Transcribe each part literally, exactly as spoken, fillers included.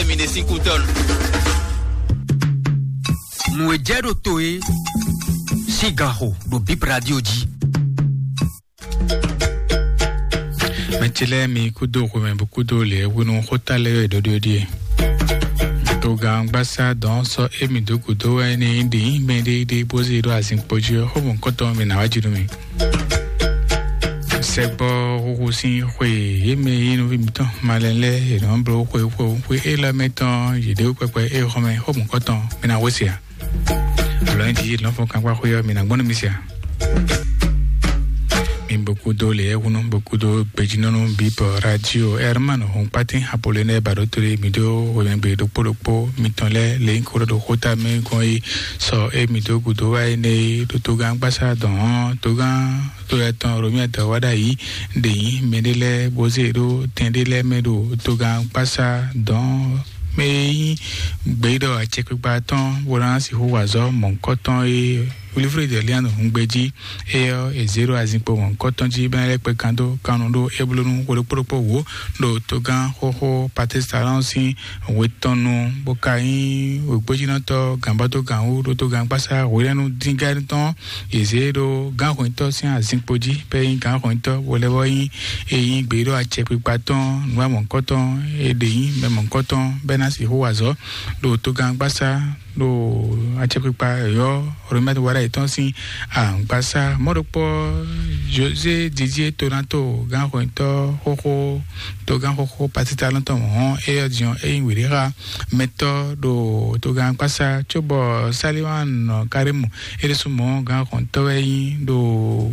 Mi ɖe sín kútɔ́ nu. Nǔ e jɛ ɖo to e sín gan xo ɖo Bip Radio jí. Mɛ ce lɛ́ɛ mi kúdó xwemɛ bó kúdó lě hwenu xóta lɛ́ɛ wɛ ɖɔɖɔ́ ɖíe. Togán gbásá dɔn sɔ émi dó gǔdo wɛ ní ɖi mɛ ɖé ɖé bó zé ɖó azinkpo jí ɔ́, xó mɔ̌kɔtɔn mi nǎ wá jí nú mi. Sɛgbɔ huhu sín xwe yě mɛ yí nɔví mǐtɔn malɛ lɛ́ɛ yě nɔ bló xwe xwe xwe élɔ́ mɛ tɔn yě ɖe kpɛkpɛ é xɔmɛ xó mɔ̌kɔtɔn mi ná wé se ǎ. Lɔ̌nyijǐ lɔ̌nfɔ́n kankpá xwé ɔ́, mi nǎ gbɔn nú mi se ǎ. Mi bó kúdó lě húnú bó kúdó gbejínɔ́nú bíbɔ radio Herman Hɔnkpátín Apolonɛ Baɖótolé mi dó hwemɛgbe ɖokpó ɖokpó mitɔn lɛ́ɛ lě nyí kó ɖɔ ɖo xóta mɛ gɔ́n yi sɔ é mi dó gǔdo wá énɛ́ é ɖo togán gbásá dɔn ɔ́, togán to yɛ tɔn Romia dɔ wá ɖ'ayǐ ɖe nyí mɛ ɖé lɛ́ɛ bó zé ɖó tɛn ɖé lɛ́ɛ mɛ ɖo togán gbásá dɔn mɛ e nyí gběɖɔ acɛkpikpa tɔn bó ná sixú wa azɔ̌ mɔ̌hunkɔtɔn e Wilfred Elian Hungbeji, éyɔ́ è zě ɖo azinkpo mɔ̌hunkɔtɔn jí bɛ́ lɛ́ kpɛ kan dó kannú ɖó éblónú xwe ɖokpó ɖokpó wǒ ɖo togán xóxó Patrice Talon sín hwe tɔn nu, bó ka nyí wěgbójínɔtɔ́ gǎnbɔ́dógǎnwú ɖo togán gbásá hwenɛ́nu díngán tɔn. È zě ɖó gǎnhwɛntɔ́ sín azinkpo jí bɛ́ nyí gǎnhwɛntɔ́ bó lɛ́ bɔ nyí e nyí gběɖɔ acɛkpikpa tɔn nǔwamɔ̌kɔtɔn e ɖě nyí mɛ mɔ̌kɔtɔn bɛ́ ná sixú wa azɔ̌ ɖo togán gbásá ɖo acɛkpikpa yɔ̌ Romɛ́t wáɖá yětɔn sín agbásá mɔ̌ ɖokpó José Didier Tonato gǎnhwɛntɔ́ xóxó togán xóxó Patrice Talon tɔn hɔn éyɔ́ din ɔ́, é nyí wěɖéxa mɛtɔ́ ɖo togán gbásá cóbɔ Saliwan Karimu é ɖésú mɔ̌ gǎnhwɛntɔ́ wɛ nyí ɖo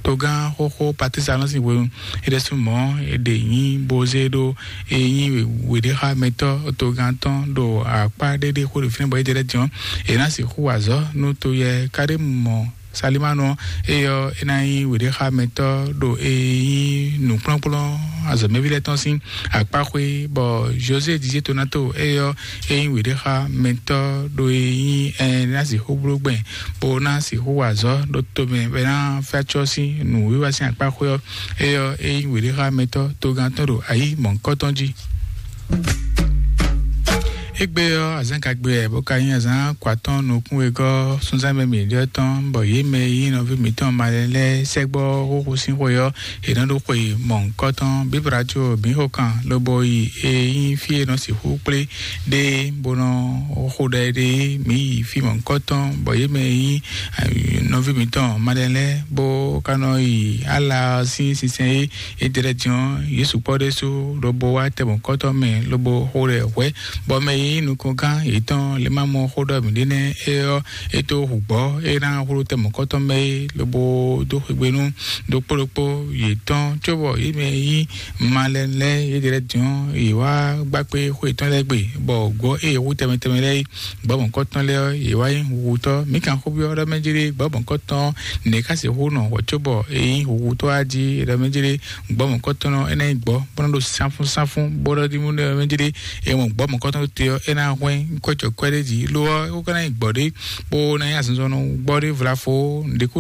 togán xóxó Patrice Talon sín hwenu é ɖésú mɔ̌ é ɖě nyí bozé ɖó é nyí wěɖéxamɛtɔ́ togán tɔn ɖo akpá ɖéɖé xó ɖo fínɛ́ bɔ é jɛ ɖɛ́ din ɔ́, è nǎ sixú wa azɔ̌ nú to yɛ Karimu mɔ Salimanu ɔ́, éyɔ́ é ná nyí wěɖéxamɛtɔ́ ɖo é nyí nǔkplɔ́nkplɔ́n azɔ̌mɛví lɛ́ɛ tɔn sín akpáxwé, bɔ José Dizé Tonato éyɔ́ é nyí wěɖéxamɛtɔ́ ɖo é nyí ɛnɛ́ ná sixú bló gbɛn bó ná sixú wa azɔ̌ ɖo tomɛ bɔ é ná fɛ́ acɔ́ sín nǔwiwa sín akpáxwé ɔ́, éyɔ́ é nyí wěɖéxamɛtɔ́ togán tɔn ɖo ayǐ mɔ̌hunkɔtɔn jí. Égbé ɔ́, azǎn gagbe wɛ bó ka nyí azǎn kɔ atɔ́ɔ́n nukún wegɔ́ súnzánmɛ mǐɖɔtɔn, bɔ yě mɛ e nyí nɔví mǐtɔn malɛ lɛ́ɛ sɛ́gbɔ xóxó sín xwe ɔ́, è nɔ ɖó xwe mɔ̌hunkɔtɔn. Bíbla có mǐ xo kan lobo yi e nyí fí e nɔ sixú kplé ɖe bó nɔ xo ɖɛ ɖe mǐ yi fí mɔ̌hunkɔtɔn, bɔ yě mɛ e nyí nɔví mǐtɔn malɛ lɛ́ɛ bó ka nɔ yi ala ɔ́ sín sinsɛn e é jɛ lɛ́ɛ din ɔ́, yě sukpɔ́ ɖésú lobo wá tɛ mɔ̌hunkɔtɔn mɛ lobo xo ɖɛ hwɛ̌, bɔ mɛ e nyí nukɔngán yětɔn lě ma mɔ xó ɖɔ mǐɖée nɛ́ é ɔ́, é tó hu gbɔ̌ é ná xwló tɛ mɔ̌kɔtɔn mɛ é, lobo dó xwegbe nú ɖokpó ɖokpó yětɔn, cóbɔ yě mɛ e nyí malɛnu lɛ́ɛ yědɛɛ lɛ́ɛ din ɔ́, yě wá gbá kpé xwé yětɔn lɛ́ɛ gbe, bɔ gbɔ̌ e è hu tɛnmɛ tɛnmɛ lɛ́ɛ é, gbɔ̌ mɔ̌kɔtɔn lɛ́ɛ ɔ́, yě wá nyí huhutɔ́. Mǐ kan xó byɔ́ ɖɔ mɛ jlé gbɔ̌ mɔ̌kɔtɔn nɛ̌ ká sixú nɔ hwɛ̌ cóbɔ é nyí huhutɔ́ a jí ɖɔ mɛ jlé gbɔ̌ mɔ̌kɔtɔn ɔ́, é ná nyí gbɔ̌ bó nɔ́ ɖo sánfúnsáfún, bó ɖɔ ɖímú ɖɔ mɛ jlé é mɔ gbɔ̌ mɔ̌kɔtɔn te ɔ́, é ná hwɛ́n kwɛ́ cɔ̌kwɛ́ ɖé jí. Lo ɔ́, é ko ka ná nyí gbɔ̌ ɖé bó ná nyí azinzɔnnɔ gbɔ́ ɖé vlafo, nǔɖé ko